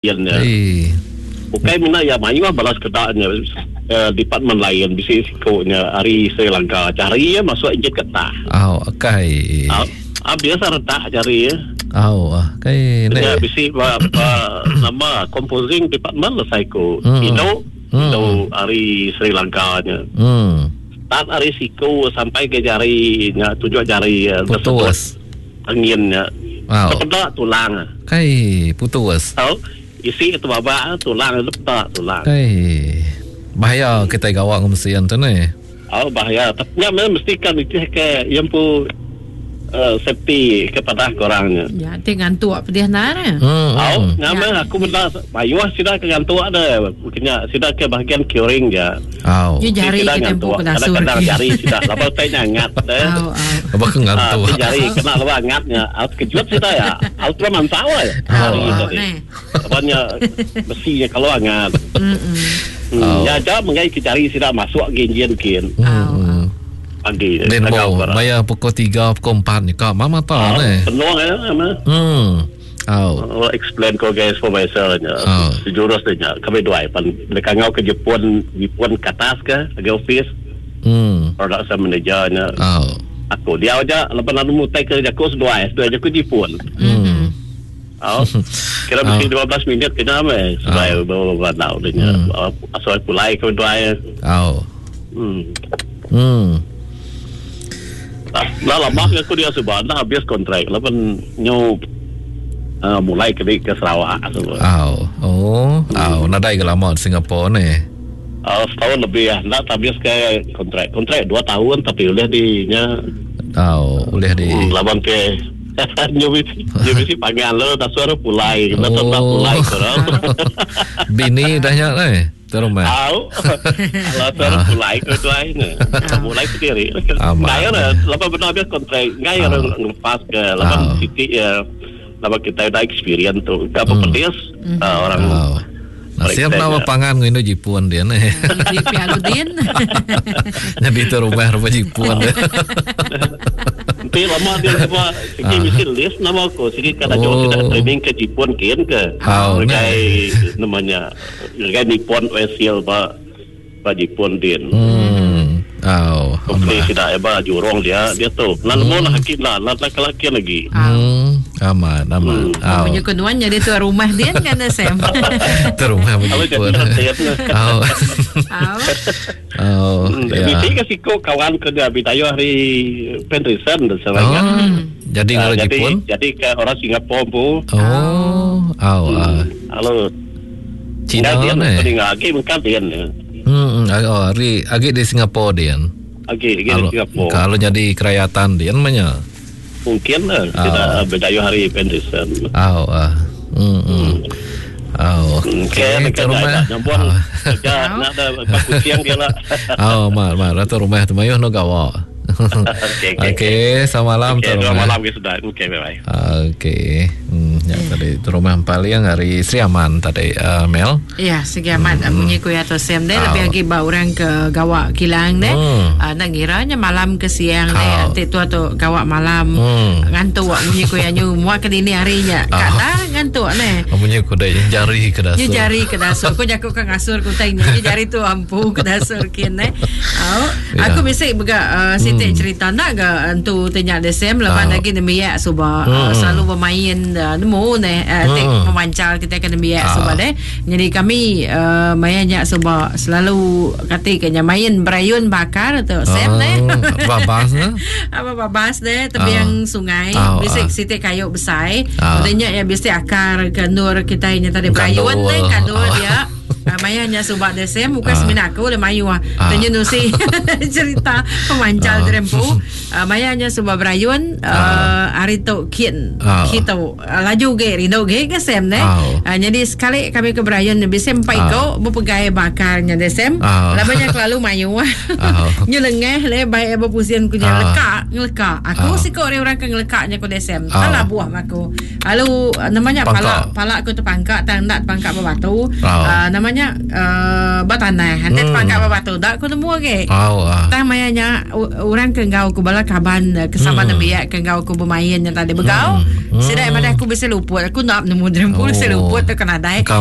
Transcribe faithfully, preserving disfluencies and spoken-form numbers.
Nya. Ukai mina ya mayuh balas kedaknya uh, department lain bisi sikonya hari Sri Lanka cari ya masuk enjin getah. Oh, okay. Ah, ah biasa retak cari ya. Oh, okay. Nya bisi ba, ba nama composing department lah saiko. Mm. Indo mm. Indo hari Sri Lanka nya. Hmm. Start hari siko sampai ke jari nya tujuh jari putus. Anginnya. Wow. Tepedak tulang. Kai putus. Oh. Isi itu babak tulang itu pedak tulang. Kai. Bahaya kita gawak mesin tu ni. Oh bahaya. Tapi nya mesti kan itu ke yang pu uh, safety kepada korangnya. Ya, ti ngantuk pedih nar. Hmm. Oh, nya meh aku benda bayuh sida ke ngantuk ada. Kena sida ke bahagian curing je. Oh. Ya jari Sida kita ngantuk. empu ke dasur. Kadang-kadang jari sida laba tai nyangat deh. Oh, oh. Apa ke ngantuk? Ah, jari kena laba ngatnya. Out kejut sida ya. Out tu mantau ya. Oh, Jari oh, tadi. neh. Apanya besinya kalau angat. Mm-mm. Hmm. Oh. Ya aja mengai ke jari sida masuk ke enjin kin. Hmm. Pagi. Den Tagau mo bara. maya pukul tiga pukul empat ni kak mama ta ni. Penuh ya ama. Hmm. Oh. Oh, explain ko guys for myself nya. Oh. Sejurus nya kami dua pan dekat ngau ke Jepun, Jepun ke atas ke ke office Hmm. production manager nya. Oh. Aku dia aja lepas lalu mutai ke jaku seduai, seduai jaku Jepun. Hmm. Oh. Kira mesti dua belas minit kena ame seduai bawa bawa tau dia. Asal pulai ke dua. Oh. Hmm. Hmm. Lah lama aku dia sebab dah habis kontrak. Lepas nyu uh, mulai ke ke Sarawak sebab. Oh. Oh. Oh, nadai ke lama di Singapura ni. Uh, setahun lebih ya. Nak habis ke kontrak. Kontrak dua tahun tapi boleh di nya Oh, boleh di hmm, lawan ke nyu nyu bisi pangan lo tak suara pulai. Nak Oh. tak pulai korang. Bini dah nyak ni. Terus mah. Au. Kalau suara pulai ke tuai ni. Mulai ke diri. Aman. Ngai lah lawan benar habis kontrak. Ngai orang ngelepas ke lawan Ah. titik ya. Lawan kita dah experience tu. Kau pedes ah, orang Oh. Nasib Periksa nama nya. pangan ngindo Jepun dia ni. Di Pialudin. Jadi tu rumah rumah Jepun dia. Nanti lama dia semua sigi mesti list nama aku sigi kada Oh. jauh tidak training ke Jepun kian ke. Oh, Sebagai namanya sebagai Nippon Oil ba ba Jepun din. Hmm. Oh. Kompli tidak eba jurong dia dia tu. Lalu hmm. lah hakim lah lah lah laki lagi. Hmm. Aman, aman. Oh, Oh. penyekutuan jadi tuan rumah dia kan Sam. Tu rumah Kalau jadi Jepun. rentet lah. Oh. Oh. Oh, Hmm, ya. Bisi ke siko kawan ke dia bitayo hari Penrison dan sebagainya. Oh. Jadi Ah, ngaro jadi Jepun. jadi ke orang Singapura pun. Oh. Oh, ah. Halo. Cina Dia ni. ni. Lagi mungkin dia ni. Hmm, oh, hari agi di Singapura dia. Lagi lagi di Kalau Singapura. kalau jadi kerajaan dia namanya. Mungkin lah tidak berdaya hari Penrison. Oh, ah. Hmm. hmm. Oh, Okey, okey, dekat tu rumah. Nyambung Ah. kerja nak ada baku siang dia lah. Oh, mat, mat, rata rumah tu mayuh no gawa. Okey, okey. Okey, selamat malam Okey, tu dua rumah. malam ke sudah. Okey, bye bye. Okey. Hmm, ya tadi tu rumah paling hari Sri Aman tadi uh, Mel. Ya, segi amat hmm. bunyi kuya atau Sam deh lebih Oh. lagi ba orang ke gawak kilang deh. Hmm. Ah, nak ngiranya malam ke siang deh. Oh. Nanti tu atau gawak malam Hmm. ngantuk bunyi kuya nyu muak ke dini harinya. Oh. Kata ngantuk neh. Punya kudai jari ke dasar. Nyu jari ke dasur. Ku jakuk ke ngasur ku tanya. Nyu jari tu ampu ke dasur kin eh. Oh, Ya. aku bisa bega uh, sitik cerita nak ke entu tanya desem lepas Oh. lagi nemiak suba Hmm. uh, selalu bermain uh, nemu neh uh, tik Hmm. memancal kita ke nemiak Ah. suba deh. Jadi kami uh, mainnya suba selalu kati kenya main berayun bakar tu sem neh. Babas ne? Apa babas deh tebiang sungai Ah, bisik ah. sitik kayu besar. Ah. Katanya ya bisik akar kendur kita nya tadi Kandul. berayun deh kandul Ah. dia. Ah, Maya nya subak desem bukan Ah. semina aku le mayu ah. Ah. Tanya nusi cerita pemancal Ah. derempu. Ah, Maya nya subak berayun ah, hari tu kin Ah. kita ah, laju ge rindu ge ke sem ne. Ah. Ah, jadi sekali kami ke berayun bisa empat Ah. iko berpegai bakarnya desem. Ah. Labanya kelalu mayu ah. Ah. Nyu lengeh le baik berpusian kunya Ah. lekak ngelekak. Aku Ah. sikok orang ke ngelekaknya ku desem. Ah. Salah buah aku. Lalu ah, namanya Pangkak. palak palak aku terpangkak tang nak pangkak berbatu. Ah. Ah, namanya nama nya uh, ba tanah. Enti hmm. tepangkat ba batu dak aku nemu agi. Oh, ah. Tang maya nya orang ke enggau aku bala kaban ke sama hmm. nembiak ke enggau aku bermain nya tadi begau. Hmm. Sida madah aku bisi luput. Aku nak nemu diri empu bisi oh. luput tu kena nadai.